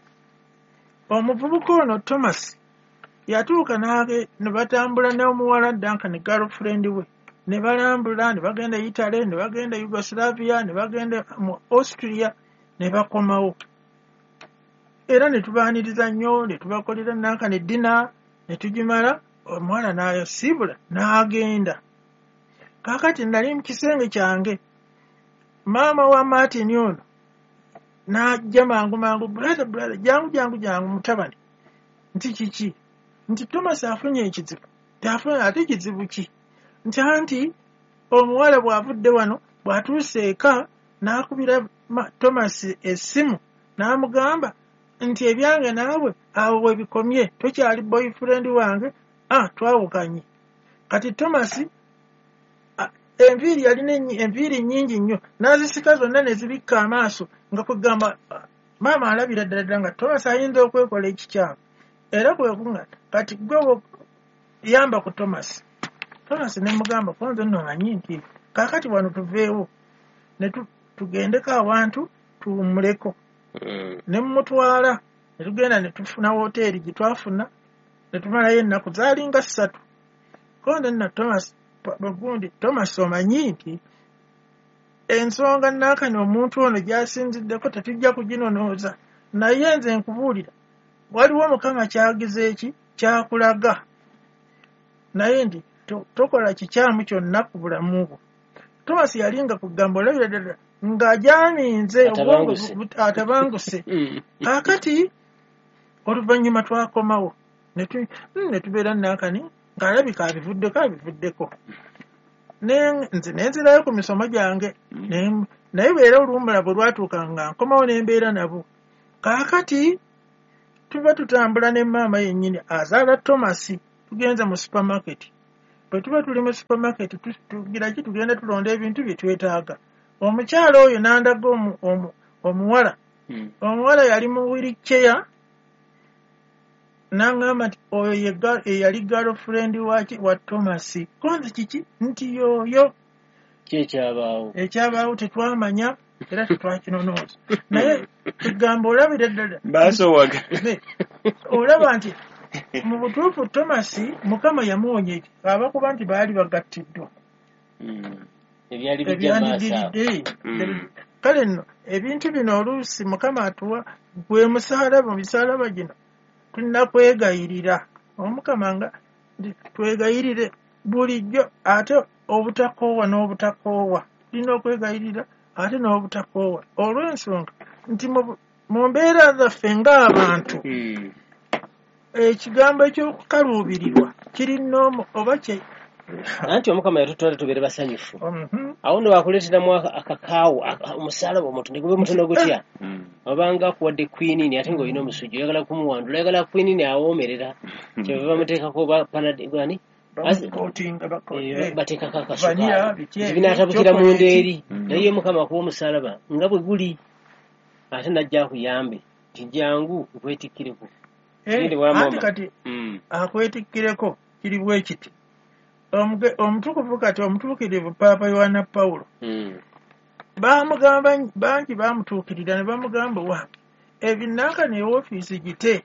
omuvubuka ono Thomas yatuuka n'age ne batambula n'omuwala Duncan girlfriend we ne balambula ne bagenda Italy ne bagenda Yugoslavia ne bagenda mu Austria ne bakomawo. Era ne tubaaniriza nnyo ne tubakolera Duncan dinner ne tugimala omuwala n'ayasiibula n'agenda. Kaakati nali mu kisenge kyange maama wa Martin ono n'ajja mangu mangu, brother brother jangu jangu jangu mutabani, nti kiki? Nti Thomas afunye ekizibu. Tafunye ate kizibu ki? Nti anti omuwala bw'avudde wano bw'atuuse eka n'akubira Thomas essimu n'amugamba nti ebyange naawe awo we bikomye, tokyali boyfriend wange, ah twawukanye. Kati Thomas enviiri yalina enviiri nnyingi nnyo n'azisika zonna ne zibikka amaaso nga kwegamba maama alabira ddala ddala nga Thomas ayinza okwekola ekikyamu. Era kwe kunga kati gwe yamba ku Thomas. Thomas ne mugamba kwanza nno manyi nti kaakati wano tuveewo ne tugendeko awantu tuwummuleko. Mm. Ne mmutwala ne tugenda ne tufuna woteeri gye twafuna ne tumalayo ennaku zaalinga ssatu. Konze nno Thomas bagundi Thomas omanyi nti ensonga naakano omuntu ono gy'asinziddeko tetujja kuginonooza, naye nze nkubuulira waliwo Mukama kyagize eki kyakulaga, naye nti tokola kikyamu kyonna ku bulamu bwo. Thomas yalinga kugamba olabira ddala ng'ajaminze obwongo atabanguse. Kaakati oluvannyuma twakomawo ne tubeera naakani ng'alabika abivuddeko abivuddeko. Nze ne nzirayo ku misomo gyange naye beera oluwummula bwe lwatuuka nga nkomawo ne mbeera nabo. Kaakati tuba tutambula ne maama yennyini azaala Thomas tugenze mu supermarket. Bwe tuba tuli mu supermarket tugira ki, tugenda tulonda ebintu bye twetaaga. Omukyala oyo n'andaga omuwala. Omuwala yali mu wheelchair, n'angamba nti oyo ye yali girlfriend waki wa Thomas. Konzi kiki nti yoyo. Ki ekyabaawo? Ekyabaawo tetwamanya era tetwakinonooza, naye tugamba olabira ddala Basowaga. Olaba nti mu butuufu Thomas Mukama yamuwonya eki abakuba nti baali bagattiddwa. Ebyali bijja maaso awo. Ebyandidiridde. Kale nno ebintu bino oluusi Mukama atuwa gwe musalaba. Mu misalaba gino tulina kwegayirira Omukama, nga twegayirire bulijjo, ate obutakoowa n'obutakoowa. Tulina okwegayirira ate n'obutakoowa, olw'ensonga nti mu mbeera zaffe ng'abantu ekigambo ekyokukaluubirirwa kirina oba kye. Anti Omukama yatutwala tubeere basanyufu. Awo nno bakuleeteramu akakaawo, omusalaba omuntu ne gube mutono gutya, obanga akuwadde quinine ate ng'olina omusujja, oyagala kumuwandula, oyagala quinine awoomerera, kyebava bamuteekako oba panadani bateekako akasukaali binaatabukira munda eri. Naye Mukama akuwa omusalaba nga bwe guli, ate najja akuyambe nti jangu nkwetikkireko. Anti kati akwetikkireko kiri bwe kiti. Omutukuvu kati omutuukirivu Paapa Yohana Pawulo bamugamba, bangi bamutuukirira ne bamugamba, wange ebinanka ne ofiisi gite,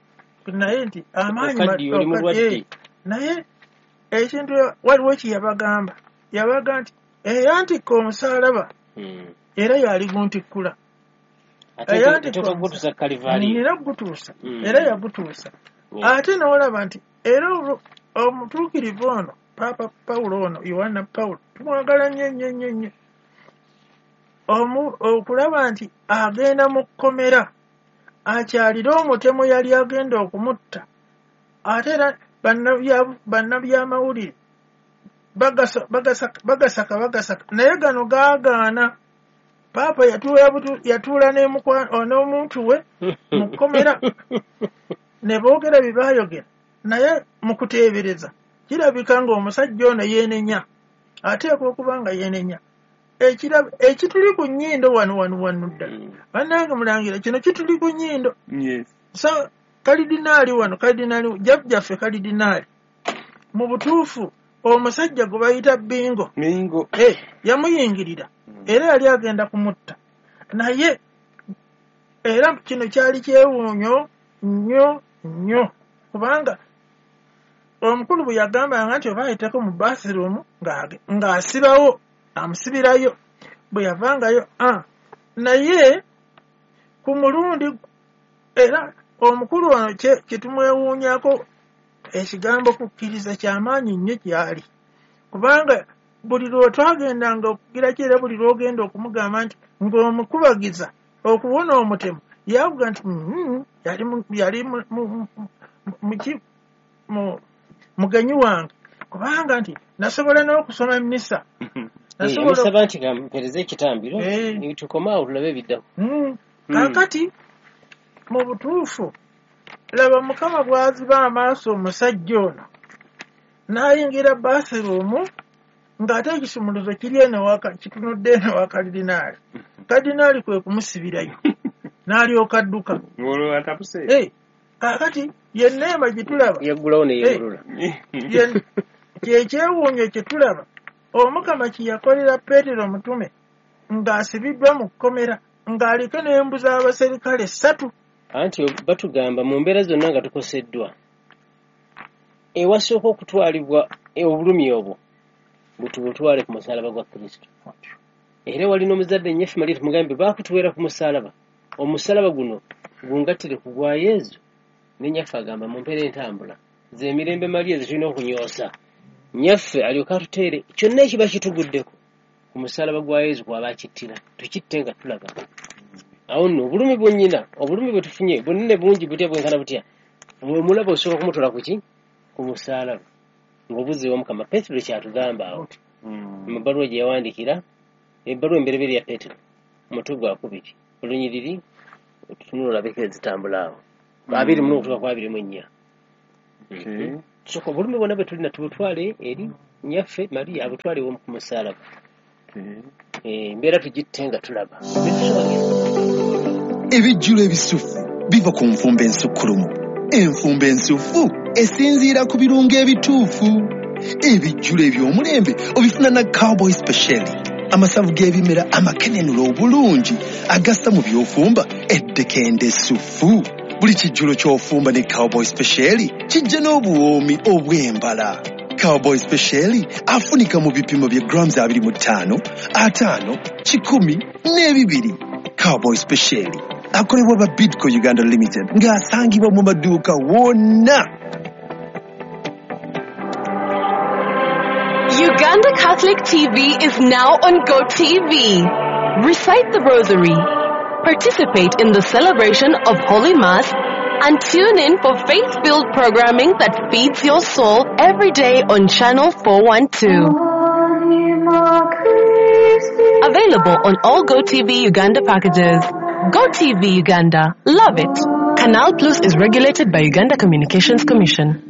naye nti amaanyi. Naye ekintu waliwo kyeyabagamba, yabaga nti eyantikka omusalaba era yali guntikkula era gutuusa, era yagutuusa. Ate n'olaba nti era omutuukirivu ono Paapa Pawulo ono Yohana Pawulo tumwagala nnyo nnyo nnyo nnyo. Okulaba nti agenda mu kkomera akyalire omutemu yali agenda okumutta, ate era bannabyamawulire bagasaka bagasaka, naye gano gaagaana. Paapa yatuula n'omuntu we mu kkomera ne boogera bye baayogera, naye mu kuteebereza kirabika ng'omusajja ono yeenenya, ateekwa okuba nga yeenenya. Ekituli ku nnyindo wano wano wano ddala, bannange mulangira, kino kituli ku nnyindo. So kalidinaali wano, kalidinaali jjajjaffe kalidinaali, mu butuufu omusajja gwe bayita Bingo yamuyingirira era yali agenda kumutta, naye era kino kyali kyewuunyo nnyo nnyo, kubanga omukulu bwe yagambanga nti oba ayiteko mu bathroom ng'asibawo, amusibirayo bwe yavangayo. Naye ku mulundi era omukulu ono kye tumwewuunyako, ekigambo kukkiriza kyamaanyi nnyo gyali, kubanga buli lwe twagendanga okugira ki, era buli lw'ogenda okumugamba nti ng'omukubagiza okuwona omutemu, yavuga nti yali muki mugenyi wange, kubanga nti nasobola n'okusoma emmisa. Yamusaba nti mpereze ekitambiro tukome awo tulabe ebiddako. Kaakati mu butuufu laba Mukama bw'aziba amaaso omusajja ono n'ayingira bathroom ng'ate ekisumuluzo kiri eno kitunudde eno wa kalidinaali. Kalidinaali kwe kumusibirayo n'alyoka adduka. Kaakati yenneema gye tulaba yaggulawo ne yeewulula. Kyekyewuunyo kye tulaba Omukama kye yakolera Peetero omutume ng'asibiddwa mu kkomera ng'aliko n'embu z'abaserikale ssatu. Anti batugamba mu mbeera zonna nga tukoseddwa, ewasooka okutwalibwa obulumi obwo butubutwale ku musalaba gwa Kristo. Era wali n'omuzadde nnyaffe Mariya tumugambe baakutuweera ku musalaba, omusalaba guno gungattire ku gwa Yezu. Ne nnyaffe agamba mu mpeera entambula z'emirembe Mariya ze tulina okunyoosa, nnyaffe alyoke atuteere kyonna ekiba kituguddeko ku musalaba gwa Yezu kwaba akittira, tukitte nga tulaba. Awo nno obulumi bwennyina, obulumi bwe tufunye bunene bungi butya bwenkana butya, omulaba osooka kumutola ku ki? Ku musalaba ng'obuzzi Omukama. Peetero kyatugamba awo mu bbaluwa gye yawandiikira, ebbaluwa embereberye ya Peetero omutwe gwa kubiri olunyiriri otutunula olabeko ezitambula awo abiri mu okutuuka ku abiri mu ennya. Tusooka obulumi bwonna bwe tulina tubutwale eri Nyaffe Maria abutwale ku musaalaba. Embeera tugitte nga tulaba. Ebijjulo ebisufu biva ku nfumba ensukkulumu. Enfumba ensufu esinziira ku birungo ebituufu. Ebijjulo eby'omulembe obifuna na Cowboy Special. Amasavu g'ebimera amakenenula obulungi agassa mu by'ofumba eddekende essufu. Buli kijjulo ky'ofumba ne Cowboy Special kijja n'obuwoomi obw'embala. Cowboy Special afunika mu bipimo bya grams abiri mu ttaano, ataano, kikumi n'ebibiri. Cowboy Special akolebwa ba Bidco Uganda Limited ng'asangibwa mu maduuka wonna. Uganda Catholic T V is now on GoTV. Recite the Rosary, participate in the celebration of Holy Mass, and tune in for faith-filled programming that feeds your soul every day on Channel four one two. Available on all GoTV Uganda packages. GoTV Uganda. Love it. Canal Plus is regulated by Uganda Communications Commission.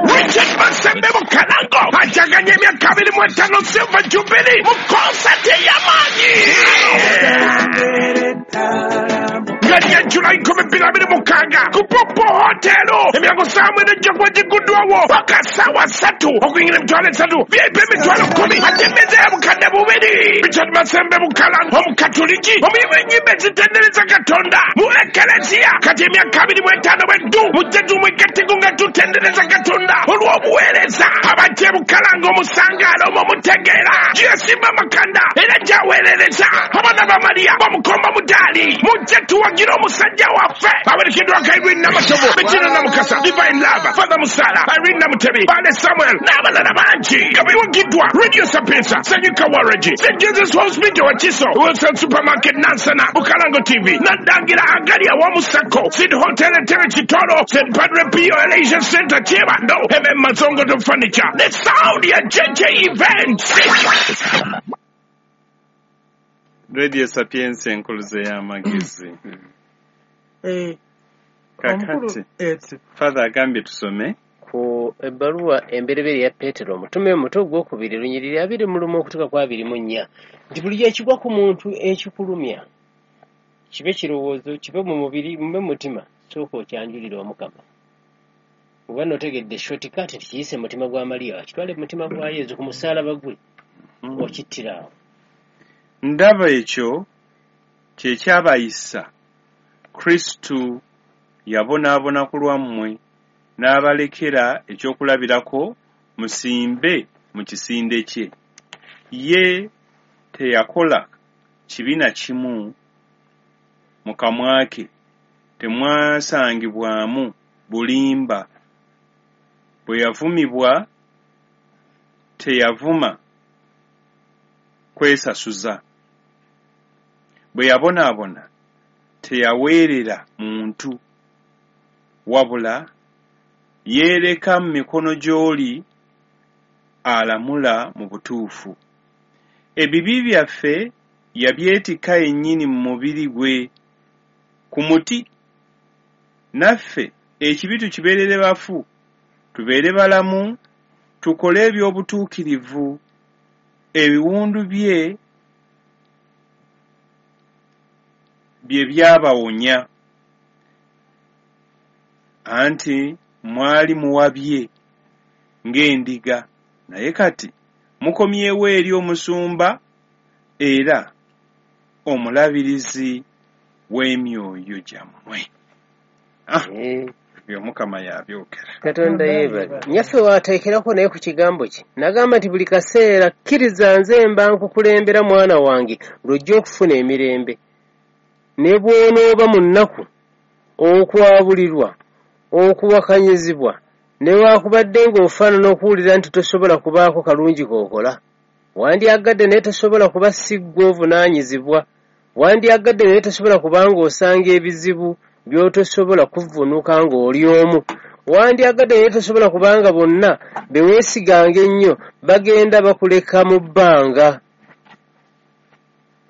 Richard Masembe Mukalango ajaganya emyaka abiri mu etaano Silver Jubilee mu konsati ey'amaanyi nga lya July nkumi bbiri abiri mukaaga ku Popo Hotel. Emyango ssaawa mwenda ejja kuba gigguddwawo paka ssaawa ssatu okuyingira emitwalo esatu V I P emitwalo kkumi ate emmeeza ya bukadde bubiri. Richard Masembe Mukalango omukatuliki omuyimbi w'ennyimba ezitendereza Katonda mu Ekereziya kati emyaka abiri mu etaano bweddu mujje tumwegatteko nga tutendereza Katonda olw'obuweereza. Abajja Bukalango omusangaalo omwo mutegeera gyesimba amakanda era gyaweerereza abaana ba Maria bamukomba mudaali mujje tuwagire omusajja waffe awerekeddwako Irene Namatovu, Bettina Namukasa, Divine Love, Father Musala, Irene Namutebi, Bale Samuel n'abalala bangi nga biwagiddwa Radio Sapienza, Sanyuka Waragi, Saint Jesus Hospital Wakiso, Wilson Supermarket Nansana, Bukalango T V, Nandangira Agali awamu Sacco, Sid Hotel Entebbe Kitoro, Saint Padre Pio Elation Center Kyebando, M M Mazongoto Furniture, the sound ya J J Events. Radio Sapienza enkuluze y'amagezi. Eh, kakati Father agambye tusome ku ebbaluwa emberebere ya Petero omutume omuto ogwokubiri lunyiriri abiri mu lumu okutuuka ku abiri mu nnya nti buli ekigwa ku muntu ekikulumya kibe kirowoozo kibe mu mubiri mube mu mutima sooka okyanjulira Omukama. Oba n'otegedde shortcut nti kiyise mutima gwa Maria akitwale mu mutima gwa Yezu ku musaalaba gwe okittira awo. Ndaba ekyo kye kyabayisa Kristo yabonaabona ku lwammwe n'abalekera ekyokulabirako musimbe mu kisinde kye. Ye teyakola kibi na kimu mu kamwa ke temwasangibwamu bulimba. Bwe yavumibwa teyavuma kwesasuza. Bwe yabonaabona teyaweerera muntu wabula yeereka mu mikono gy'oli alamula mu butuufu. Ebibi byaffe yabyetikka yennyini mu mubiri gwe ku muti, naffe ekibi tukibeerere bafu, tubeere balamu, tukole eby'obutuukirivu. Ebiwundu bye bye byabawonya. Anti mwali muwabye ng'endiga, naye kati mukomyewo eri omusumba era omulabirizi w'emyoyo gyammwe. Ah, ebyo Mukama yabyogera. Katonda yeebale. Nyaffe waateekerako naye ku kigambo kye n'agamba nti buli kaseera kkiriza nze mba nkukulembera mwana wange lw'ojja okufuna emirembe. Ne bw'onooba mu nnaku, okwabulirwa, okuwakanyizibwa, newaakubadde ng'ofaanana okuwulira nti tosobola kubaako kalungi k'okola. Wandyagadde naye tosobola kuba si ggwe ovunaanyizibwa. Wandyagadde naye tosobola kuba ng'osanga ebizibu by'otosobola kuvvuunuka ng'oli omu. Wandyagadde naye tosobola kubanga bonna be weesiganga ennyo bagenda bakuleka mu bbanga.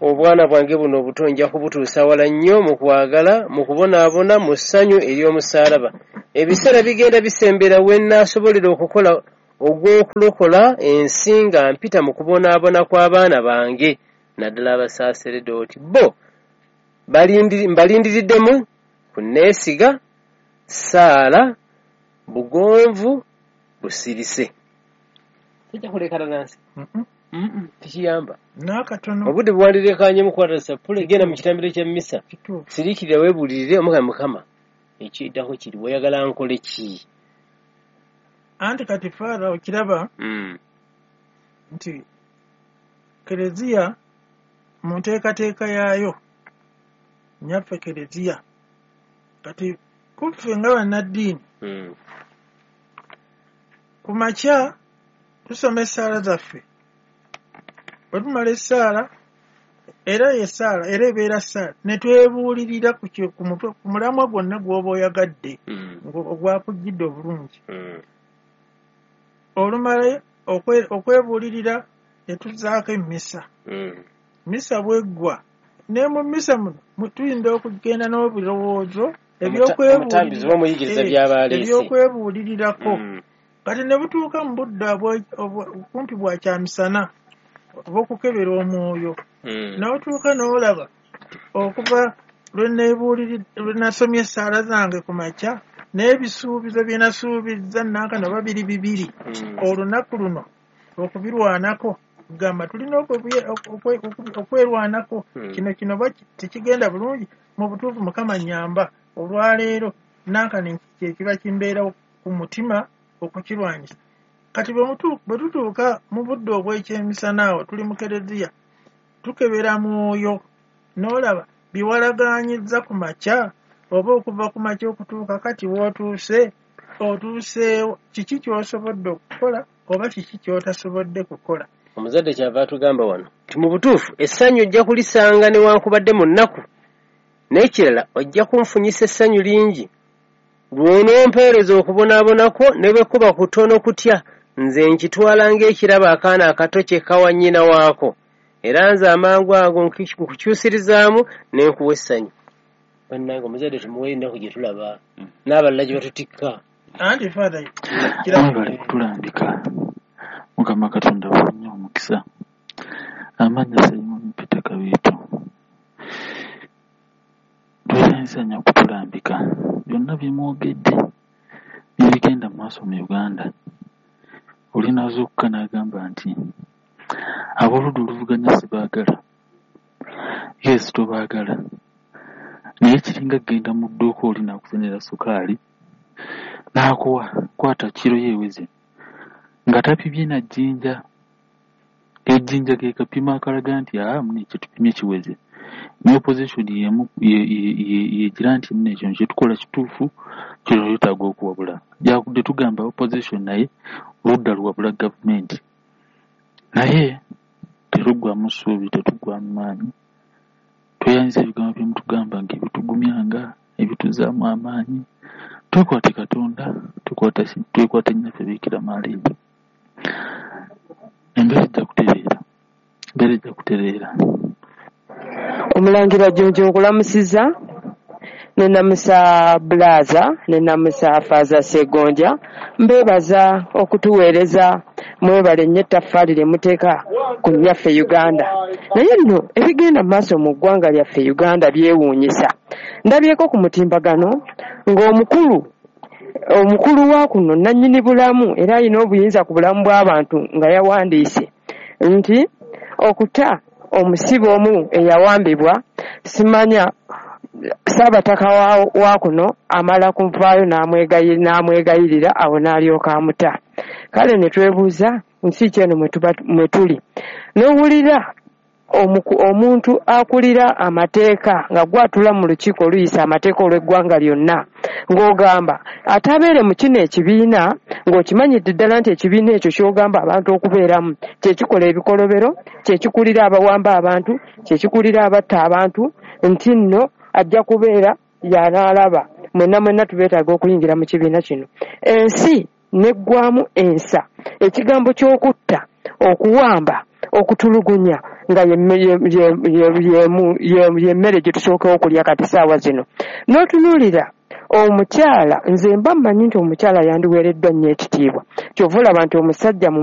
Obwana bwange buno obuto nja kubutuusa wala nnyo mu kwagala, mu kubonaabona, mu ssanyu ery'omusaalaba. Ebiseera bigenda bisembera we nnaasobolera okukola ogw'okulokola ensi nga mpita mu kubonaabona kw'abaana bange, naddala abasaaseredooti. Bo mbalindiriddemu kunneesiga, ssaala, bugonvu, busirise. Kijja kulekana nansi. Tekiyamba. N'akatono. Obudde bwandirekanyemu kwata sappule, genda mu kitambiro kya mmisa. Siriikirira weebuulirire Omukama Mukama. Ekiddako kiri oyagala nkole ki? Anti kati Father okiraba nti Kereziya mu nteekateeka yaayo nnyaffe Kereziya kati kuffe nga bannaddiini ku makya tusoma essaala zaffe. Bwe tumala essaala era essaala era ebeera ssaala ne twebuulirira ku ku mulamwa gwonna gw'oba oyagadde ogwakujjidde obulungi. Olumala okwebuulirira ne tuzzaako emmisa. Mmisa bw'eggwa ne mu mmisa muno tuyinza okugenda n'obirowoozo ebyokwebuulirirako. Kati ne butuuka mu budde kumpi bwa kyamisana obw'okukebera omwoyo. N'otuuka n'olaba okuva lwe nasomye essaala zange ku makya n'ebisuubizo bye nasuubizza nankana babiri bibiri olunaku luno okubirwanako gamba tulina okwerwanako kino kino tekigenda bulungi mu butuufu Mukama nnyamba olwaleero nankana kye kiba kimbeerawo ku mutima okukirwanyisa. Kati bwe tutuuka mu budde obw'ekyemisana awo tuli mu Kereziya tukebera mwoyo n'olaba biwalagaanyizza ku makya oba okuva ku makya okutuuka kati w'otuuse otuuseewo kiki ky'osobodde okukola oba kiki ky'otasobodde kukola. Omuzadde kyava atugamba wano nti mu butuufu essanyu ojja kulisanga newankubadde mu nnaku, n'ekirala ojja kunfunyisa essanyu lingi lw'onompeereza okubonaabonako ne bwe kuba kutono kutya nze nkitwala ng'ekirabo akaana akato kye kawa nnyina waako era nze amangu ago nkukyusirizaamu ne nkuwa essanyu. Bannange omuzadde tumuwe ennaku gye tulaba n'abalala gye batutikka. Anti Father mwebale kutulambika Mukama Katonda abawe omukisa. Amannya Simon Peter Kabiito. Tweyanza nnyo okutulambika byonna bye mwogedde byebigenda mu maaso mu Uganda. Oli n'azuukuka n'agamba nti ab'oludda oluvuganya sibaagala. Yes, tobaagala. Naye kiringa kugenda mu dduuka oli n'akusenera sukaali n'akuwa kwata kiro yeeweze nga tapimye na jjinja. Ejjinja ke kapima akalaga nti aa mune kye tupimye kiweze. Ne opposition y'emu yegira nti mune ekyo kye tukola kituufu kino yeetaaga okuwabula. Jakudde tugamba opposition naye oludda luwabula gavumenti. Naye tetuggwamu ssuubi, tetuggwamu maanyi. Tweyanziza ebigambo bye mutugamba ng'ebitugumyanga, ebituzzaamu amaanyi. Twekwate Katonda, twekwate nnyaffe Biikira Maria. Embeera ejja kutereera, embeera ejja kutereera. Omulangira Jjunju nkulamusiza, ne namusa Bulaza, ne namusa Faaza Ssegonja, mbeebaza okutuweereza, mwebale nnyo ettaffaali lye muteeka ku nnyaffe Uganda. Naye nno ebigenda mu maaso mu ggwanga lyaffe Uganda byewuunyisa. Ndabyeko ku mutimbagano ng'omukulu omukulu wa kuno nannyini bulamu era alina obuyinza ku bulamu bw'abantu nga yawandiise nti okuta omusibe omu eyawambibwa simanya Saabataka wa, wa kuno amala kuvaayo n'amwegayirira awo n'alyoka amuta. Kale ne twebuuza nsi ki eno mwe tuli. N'owulira omuntu akulira amateeka nga gwatula mu lukiiko oluyisa amateeka olw'eggwanga lyonna ng'ogamba atabeere mu kino ekibiina ng'okimanyidde ddala nti ekibiina ekyo ky'ogamba abantu okubeeramu kye kikola ebikolobero, kye kikulira abawamba abantu, kye kikulira abatta abantu, nti nno ajja kubeera y'anaalaba. Mwenna mwenna tubeetaaga okuyingira mu kibiina kino. Ensi neggwamu ensa. Ekigambo ky'okutta, okuwamba, okutulugunya nga y'emmere gye tusookawo okulya kati saawa zino. N'otunuulira omukyala, nze mba mmanyi nti omukyala yandiweereddwa nnyo ekitiibwa, kyova olaba nti omusajja mu